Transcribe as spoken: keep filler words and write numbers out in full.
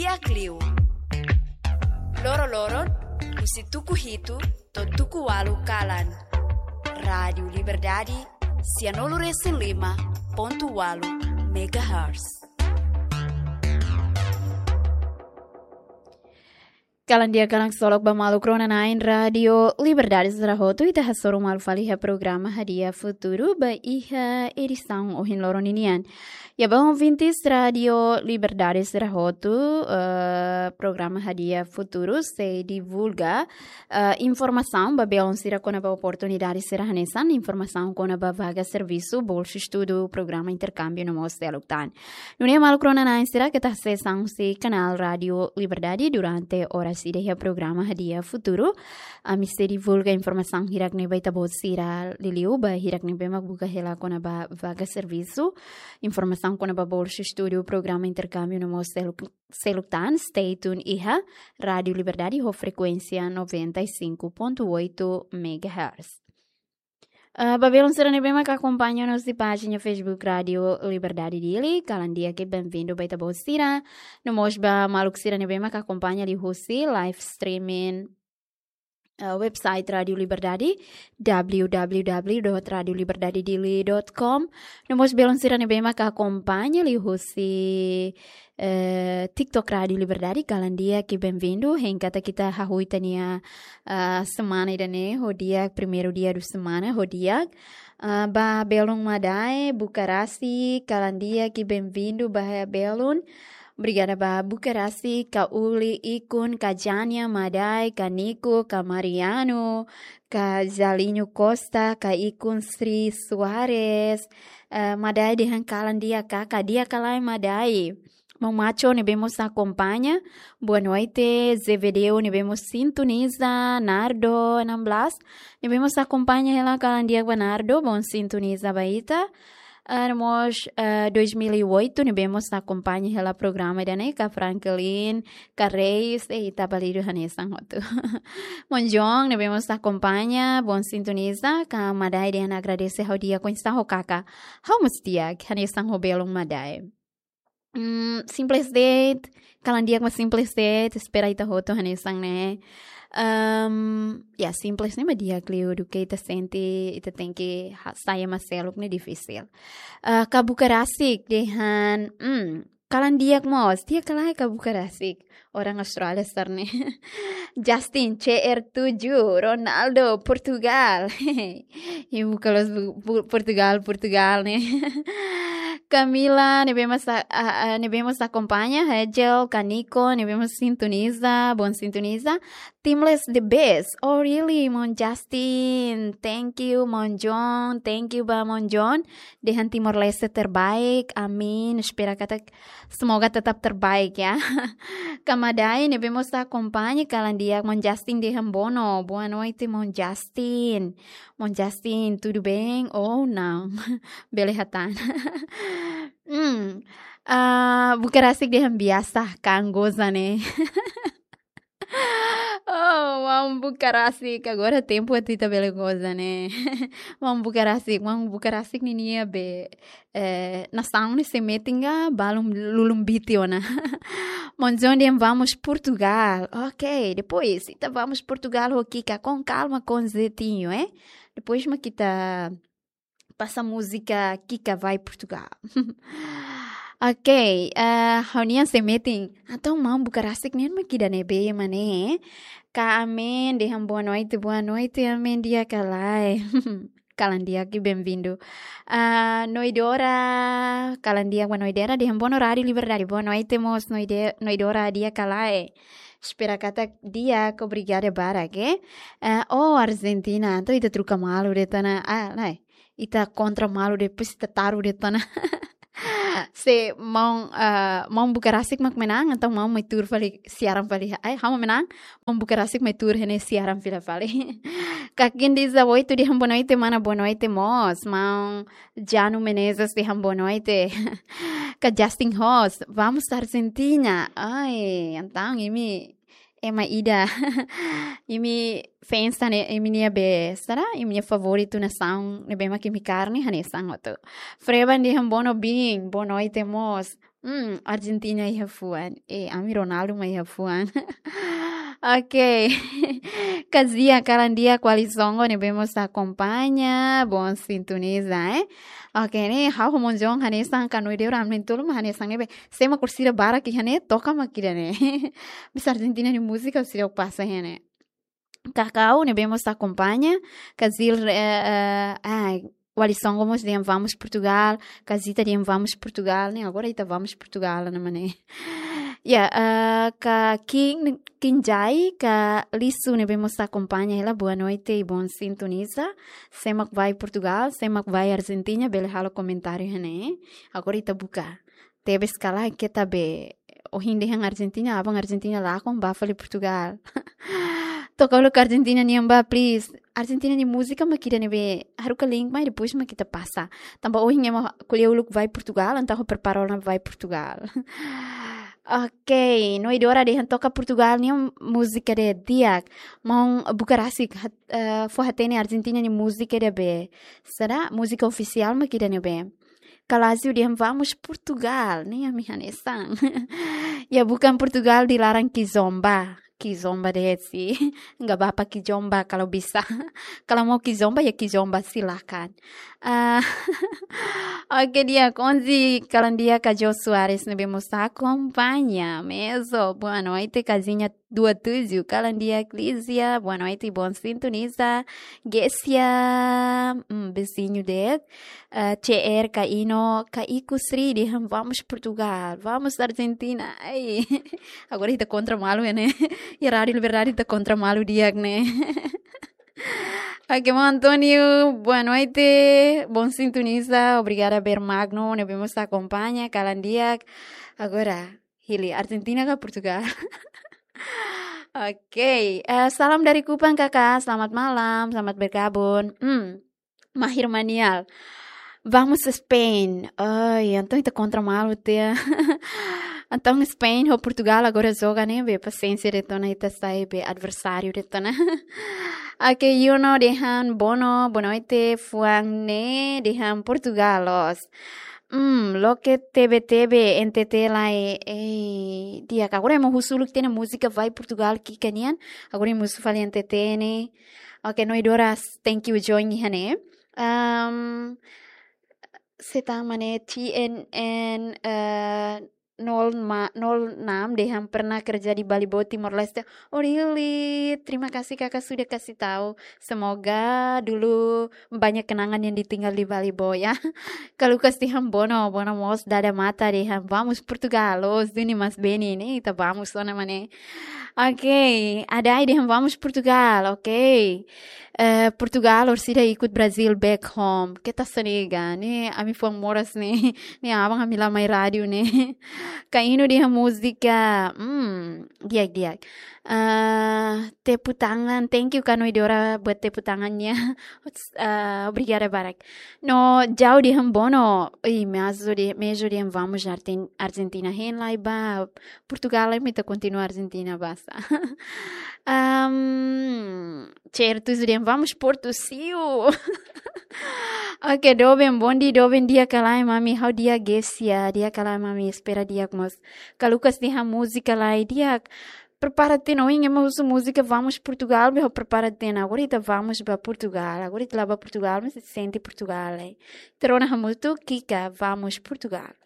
Di'ak liu. Loro-loron, husi tuku hitu to'o tuku ualu kalan. Rádiu Liberdade, sianulu-resin-lima pontu ualu megahertz. Kalan di'ak, kalan ksolok ba maluk rona-na'in Rádiu Liberdade sira hotu, ita hasoru malu fali iha programa Hadi'a Futuru ba iha edisaun ohin loron ninian. Ya, ba ouvintes Rádiu Liberdade sira hotu, eh, programa Hadi'a Futuru sei divulga, eh, informasaun ba belun sira kona-ba oportunidade sira hanesan, informasaun kona-ba vaga servisu, bolsa estudu, programa interkámbiu no mós seluk tan. Nune'e maluk rona-na'in sira, keta hasees an husi kanál Rádiu Liberdade durante oras ida iha programa Hadi'a Futuru. Ami sei divulga informasaun hirak ne'e ba ita-boot sira liuliu ba hirak ne'ebé mak buka hela kona-ba vaga servisu, informasaun kona-ba bolsa estudu, programa interkámbiu no mós seluk, seluk tan. Stay tune iha Rádiu Liberdade ho frekuénsia noventa e cinco ponto oito megahertz. Ah, ba belun sira ne'ebé mak akompaña ona husi pájina Facebook Rádiu Liberdade Dili, kalan di'ak, benvindu ba ita-boot sira. No mós ba maluk sira ne'ebé mak akompaña liuhusi live streaming, ah, website Rádiu Liberdade, w w w dot radio liberdade dili dot com. No mós belun sira ne'ebé mak akompaña liuhusi eh, TikTok Rádiu Liberdade, kalan di'ak, benvindu. Hein katak ita hahú ita-nia, ah, semana ida-ne'e ho di'ak, primeiru dia do semana ho di'ak. Ah, ba belun Madai, buka rasik, kalan di'ak, benvindu ba belun. Obrigada ba buka rasik, Ka Uli, Ikun, Ka Jania, Madai, Ka Niko, Ka Mariano, Ka Jalinho Costa, Ka Ikun, Sri Soares, eh, Madai dehan kalan di'ak ka, ka di'ak ka lae Madai. Maun Macho ne'ebé mós akompaña, boa noite. Zevedeo ne'ebé mós sintoniza, Nardo enam belas ne'ebé mós akompaña hela, kalan di'ak ba Nardo, bom sintoniza ba ita. Ah, no mós, ah, dois mil e oito ne'ebé mós akompaña hela programa ida-ne'e, Ka Franklin, Ka Reis, eh, ita balidu hanesan hotu. Maun John ne'ebé mós akompaña, bom sintoniza, Ka Madai dehan agradese ha'u di'ak, oinsá ho kaka? Ha'u mós di'ak, hanesan ho belun Madai. Hmm, simples de'it, kalan di'ak mak simples de'it, espera ita hotu hanesan ne'e. Ehm, ya, simples ne'e mak di'ak liu, duké ita sente, ita tenke ha-, sai ema seluk ne'e difisil. Ah, Ka Buka Rasik dehan, hmm, kalan di'ak mós, di'ak ka lae Ka Buka Rasik? Orang Austrália sira-ne'e. Justin, C R tujuh, Ronaldo, Portugal. Ibu kalau bu-, bu-, Portugal, Portugal ne'e. Camila, ne'ebé mós a-, a-, a-, ne'ebé mós akompaña, Hegel, Ka Niko, ne'ebé mós sintoniza, bom sintoniza. Timor Leste the best. Oh, really, Maun Justin? Thank you, Maun John. Thank you ba Maun John. Dehan Timor Leste terbaik. Amin. Espera katak semoga tetap terbaik, ya. Ka Madai ne'ebé mós akompaña, kalan di'ak. Maun Justin dehan bono. Boa noite, Maun Justin. Maun Justin, tudo bem ou não? Bele hatán. Hmm. Ah, buka rasik dehan biasa, kan goza ne'e. Oh, maun buka rasik, agora tempu atu ita bele goza ne'e. Maun buka rasik, maun buka rasik ninia be, eh, nasaun ne'e sei metin ka balun lulun biti ona. Maun John dehan vamos Portugal. Ok, depois ita vamos Portugal ho kika, com calma, com jeitinho, eh? Depois mak ita pasa múzika Kika Vai Portugal. Ok, eh, ha'u-nian sei metin. Entaun maun buka rasik nian mak ida ne'ebé mak ne'e. Ka Amen dehan boa noite, boa noite, Amen, di'ak ka lae? Kalan di'ak, benvindu. Ah, Noidora, kalan di'ak ba Noidora, dehan bono Rádiu Liberdade. Boa noite mós, Noide-, Noidora, di'ak ka lae? Espera katak di'ak, obrigada barak, eh. Ah, oh, Argentina, entaun ita troka malu de'it ona. Ah, lae. Ita kontra malu de'it, depois ita taru de'it ona. Se maun, ah, maun buka rasik mak menang, entaun maun mai tuur fali siaran fali. Ai, ha'u mak menang, maun buka rasik mai tuur iha-ne'e siaran fila fali. Ka Quindiza Oito dehan boa noite, mana, boa noite mós. Maun Jano Menezes dehan boa noite. Ka Justin Hoss, vamos Argentina. Ai, entaun imi ema ida. Imi fans tan ne'e, imi-nia be, sá? Imi-nia favoritu nasaun ne'ebé mak imi kaer ne'e hanesan hotu. Freban dehan bono bin, boa noite mós. Hmm, Argentina iha fuan. Eh, ami Ronaldo mak iha fuan. Oke. Kazia kalan di'ak, Walisongo ne'ebé mós akompaña, bom sintoniza, eh. Oke, ne'e ha'u ho maun John hanesan, ka Noe Deora, ami na'in-tolu mak hanesan ne'ebé. Sé mak orsida barak iha ne'e, toka mak ida-ne'e. Bisa Argentina nia múzika orsida pasa iha ne'e. Kakau ne'ebé mós akompaña, Kazil, eh, eh, ai, Walisongo mós dehan vamos Portugal, Kazita dehan vamos Portugal, ne'e agora ita vamos Portugal, ne'e mana. Ya, eh, ka King, King Jai, ka Lisu ne'ebé mós akompaña, hela boa noite e bom sintoniza. Sé mak vai Portugal, sé mak vai Argentina, bele halo komentáriu iha ne'e. Agora ita buka. Tebes kala keta be, ohin dehan Argentina, aban Argentina lakon, bá fali Portugal. Toka uluk Argentina nian bá, please. Argentina nia múzika mak ida ne'ebé, haruka link mai, depois mak ita pasa. Tanba ohin ema ko'alia uluk vai Portugal, entaun prepara ona vai Portugal. Oke, Noe Deora dehan toka Portugal nia múzika ida di'ak. Maun buka rasik, hat-, eh, fó hatene Argentina nia múzika ida be. Saida, múzika ofisiál mak ida ne'ebé. Kalazio dehan vamos Portugal, ne'e ami hanesan. Ya bukan Portugal di laran kizomba. Kizomba de'it, enggak apa-apa kizomba kalau bisa. Kalau mau kizomba ya kizomba, silakan. Ah, oke, di'ak, onze kalan di'ak, ka Jo Soares ne'ebé mós akompaña. Mezo, boa noite, Casinha dua tujuh, kalan di'ak, Lízia, boa noite, bom sintoniza. Gesia, mm, viziñu de'it, eh, C R, ka Ino, ka Iku Sri dehan vamos Portugal, vamos Argentina. Ai. Agora ita kontra malu, ne'e. Ya Rádio Liberdade ita kontra malu di'ak, ne'e. Oke, maun António, boa noite, bom sintoniza, obrigada Ber Magno ne'ebé mós akompaña, kalan di'ak. Agora, hili, Argentina ka Portugal? Oke, eh, salam dari Kupang, Kakak. Selamat malam, selamat bergabung. Hmm, Mahir Manial. Vamos Spain. Ai, entaun ita kontra malu tiha. Entaun Spain ho Portugal agora joga ne'e, be pasiénsia de'it ona, ita sai be adversáriu de'it ona. Oke, Yuno dehan bono, boa noite, fuan ne'e dehan Portugal loos. Hmm, loke T V T V, N T T lai, eh, di'ak, agora ema husu uluk tiha ona múzika vai Portugal ki'ik nian, agora ema husu fali N T T ne'e. Oke, Noe Deora, thank you join iha ne'e. Um, sé tan mak ne'e, T N N, eh, nol ma-, nol enam dehan pernah kerja di Balibo, Timor Leste. Oh, really? Terima kasih Kakak sudah kasih tahu. Semoga dulu banyak kenangan yang ditinggal di Balibo ya. Ka Lucas dehan bono, bono mós dada mata dehan vamos Portugal, loos duni mas beni ne'e, ita vamos ona, mana. Oke, Adai dehan vamos Portugal, oke. Eh, Portugal, orsida ikut Brazil back home. Keta sanega, ne'e ami fuan moras ne'e, ne'e aban ami la mai rádiu ne'e. Ka Ino dehan múzika, hmm, di'ak, di'ak. Ah, tepuk tangan, thank you ka Noe Deora buat tepuk tangannya. Ah, obrigada barak. No, Jau dehan bono, ih, Mezo de, Mezo dehan vamos Arten-, Argentina, hein lai bá Portugal, imi ita kontinua Argentina basa. Am, certo, dehan vamos Porto, siu. Oke, doben, bom dia, doben, di'ak ka lae, mami, ha'u di'ak, Gesia, di'ak ka lae, mami, espera di'ak mós. Ka Lucas dehan múzika lai, di'ak. Prepara tiha ona, ohin ema husu múzika vamos Portugal, be ha'u prepara tiha ona, agora ita vamos bá Portugal, agora ita la bá Portugal, mas sente Portugal, eh. Ita rona hamutuk, ki'ik, vamos Portugal.